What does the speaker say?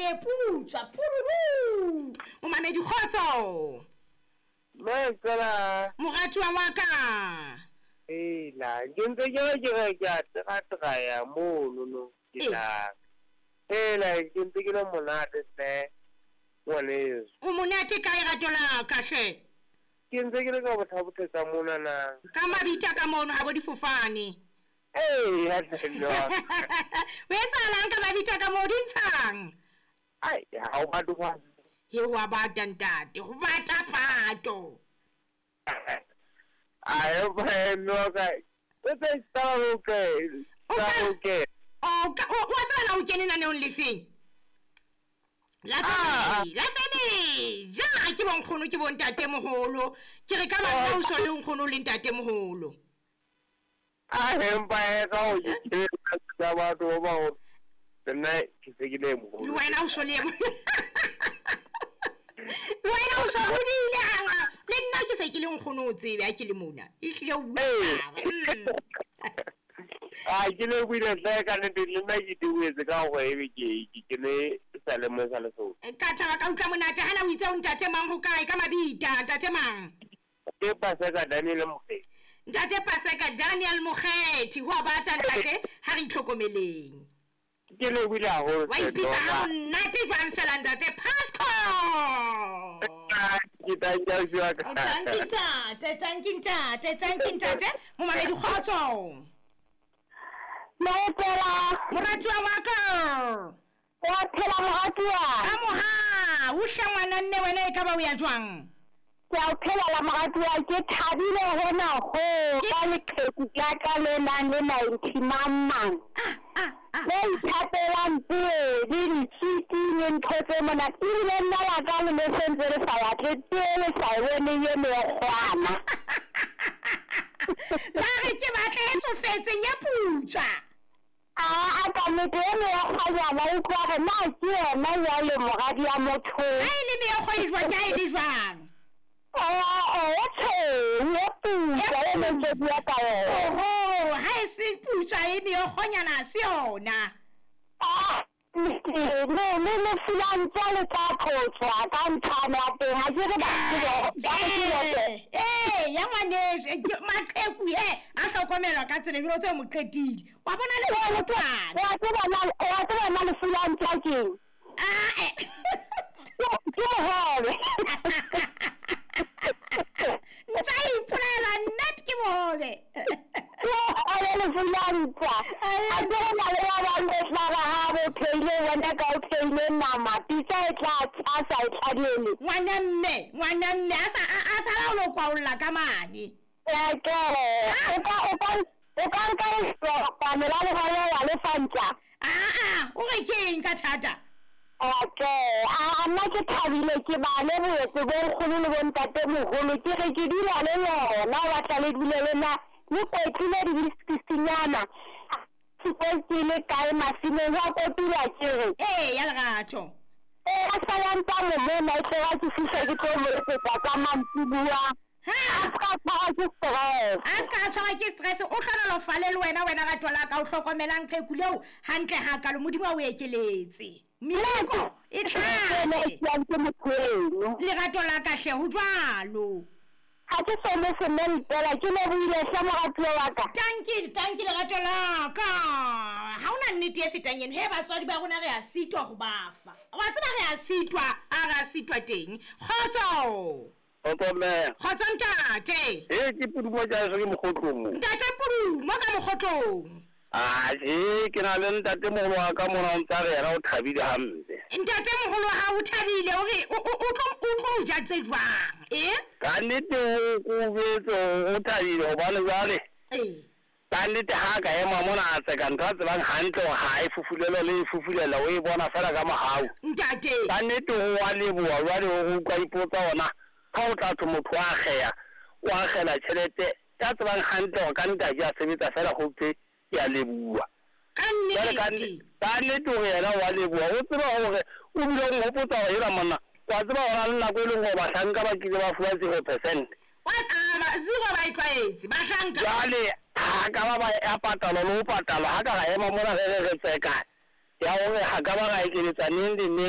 le e putswa pururu. Momamedi kgotso. Mme tsela. Moratuwa wa ka. Hela, ke ntse ke re ke re ke a tekatekaya mono no. Ke tla. Hela, ke ntse ke le monate hle. Ngwaneso. O monate kae rato la ka hle? Ke ntse ke le ka bothabothetsa mona na. Ka mabitla ka mono ha bo difofane. Ee, ya no. O etsahalang ka mabitla ka moo di ntshang? Ai, ha o batle hwa. He wa bata ntate, ho bata pato. Ai, ba no ka. O tse tsa o ke. Tsa o ke. O ka o wa tseba na o kene naneong lefeng? La tsebe ja ke bonkgono ke bontate moholo. Ke re ka batla o so le nkgono le ntate moholo. A empa e ka o ke ka batho ba o nna ke se ke le moholo. Le wena o so le wena o so hodile hanga le nna ke se ke le nkgono o tsebe ha ke le mona. E hlile o bua. A ke le buile hle ka nnete le nna ke duetse ka hore ebe ke ne sa le mo sa le so. Ka thaba ka utlwa monate hana o itse o ntate mang ho kae ka mabita ntate mang? Ke Paseka Daniel Mokgethi. Ntate Paseka Daniel Mokgethi ho bata ntate ha re itlhokomeleng. Ke le buile haholo. Wa ipitsa ha monate jwang fela ntate Pasco. Ke thank you ka. Thank you ntate, thank you ntate, thank you ntate. Momamedi kgotso. Motsela moratuwa wa ka. Wa phela moratuwa. Ka moha, o hle ngwana mme wena e ka ba o ya jwang? Ke a o phela la moratuwa ke thabile hona ho ka leqheku la ka le nang le 90 mang. Le ithapelang tee le ditswiki le ntho tse monate ebile nna la ka le ne sentse le sa batle tee le sa e boneng e mekgwana. La re ke batla e tsofetseng ya putswa. A ka nnete e meokgwanyana e utlwa hore na ke yona jwale moradi ya motho. Ha e le meokgo e jwang ke ha e le jwang? E tshweu e putswa e ne ntse bua ka yona. Oho, ha e se putswa e meokgonyana ha se yona. Le le filantsa le tla tlhotswa ka nthane ya teng ha ke re ba ee ya ngwaneso maqheku he a hlokomelwa ka tsela ebile o tse mo qetile wa bona le motwana wa tseba na le filantsa keng ke mohobe ntsa ipolela nnete ke mohobe ke le filantsa a ke na le ba bang e tla ba ha bo pheile wena ka o pheile nama pitsa e tla tshasa e tladiele ngwana mme a sa a sala o lo kwaolla ka mane ke o ka nka kopane la le wa le fantsa o re keng ka thata. Okay, a nna ke thabile ke ba le boetse bo nkgono le bo ntate moholo ke re ke dula le lona ba tla le dule le nna le kwetlile di-biscuitsnyana ke le kae masimong wa kotula ke re ee ya lerato e a salantsa momona e tloga ke fihla ke tlo mo etsetsa tsa mantsibuwa. A ska tshwarwa ke stress. A ska tshwarwa ke stress o hlonolofale le wena wena rato la ka o hlokomelang qheku leo hantle hakalo Modimo a o ekeletse. Meleko e tlhabe lerato la ka hle ho jwalo. Ha ke so mo sementela ke lebohile hle moratuwa wa ka. Tanki lerato la ka. Ha hona nnete e fetang eno he batswadi ba rona re a sitwa ho ba fa. Wa tseba re a sitwa a re a sitwa teng. Kgotso. Kgotso mme. Kgotso ntate. Ee ke Pudumo ja ke mokgotlong mo. Ntate Pudumo ka mokgotlong. A ke na le ntate moholo wa ka mona o ntsa re yena o thabile hampe. Ntate moholo wa hao o thabile o re o tlo ja tse jwang? Ka nnete o betse o thabile hobane jwale. Ka nnete ha ka ema mona a tseka ntho a tsebang hantle hore ha e fufulelwa le e fufulela o e bona fela ka mohau. Ntate. Ka nnete o wa leboha jwale o utlwa ipotsa ona ha o tla thwe motho wa akgeya o akgela tjhelete ya tsebang hantle hore ka nnete ha ke a sebetsa fela ho thwe ke a leboha. Ka nnete. Ka nnete hore yena wa leboha o tseba hore o bile o nghopotsa hore ena monna wa tseba hore na le nako e leng hore bahlanka ba kile ba fuwa 0%. Wa zero ba e tlwaetse bahlanka. Jwale ha ka ba ya patalwa le ho patalwa ha ka ra ema mona re re tseka ya hore ha ka ba ra ekeletsa neng le neng.